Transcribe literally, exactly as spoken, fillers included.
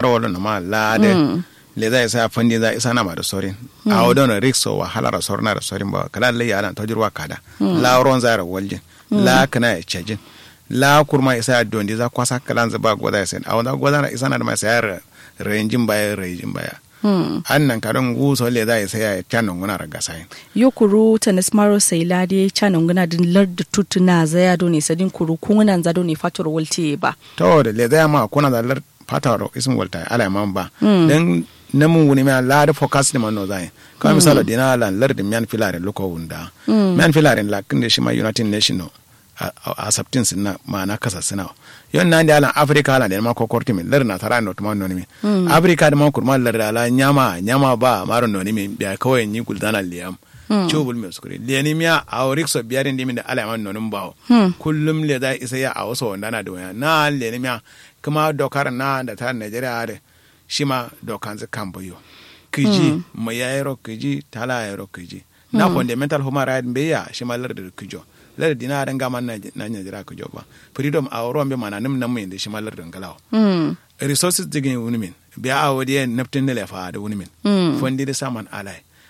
Ro wolo no ma la de. Leza isa fandi za isa na ma da sorin. Awo dono rikso wahala ro sorna da sorin ba kala lai alan tojurwa kada. La ronza ro waljin. La kana ya cejin. La kurma isa ya dondi za kwasa kala za ba goza ya sen awo za goza na isa na da ma sai ya renjin baya renjin baya. An nan kadon guso leza isa ya canon guna raga sayin. Yo kuru tanis maro sai la de canon guna din lar da tutuna za ya done sadin kuru kungunan za done fator walti ba. To da leza ya ma kuna za lar fataro isin walta ala man ba. Dan namun wuni ma la da focus ni man no zai. Kama misalo dina lan lar da miyan filarin luko wunda. Miyan filarin la kinde shi ma united nation no. A saptin sinna ma'ana kasa sina. Yon nan da alan africa alan da ma kokor timin lar na tara no tuma noni min. Africa da ma kurma lar da ala nyama nyama ba maro noni min biya kawai ni guldana liyam. Cubul mai sukuri leni miya a rikso biyarin dimin da ala man nonin bawo. Kullum le za isa ya a wasu wanda na da waya na leni miya. Kuma dokar na da ta nigeria da shi ma dokan zu kan bayo. Kiji mai yayiro kiji tala yayiro kiji. Na fundamental human right bai ya shi ma lardar kijo. Lardar dina ran gama na nigeria kijo ba. Freedom a wurin bai mana nim nan mai da shi ma lardar galawa. Resources digin wunimin biya a wadi ya naftin da laifa da wunimin. Fundi da saman alai.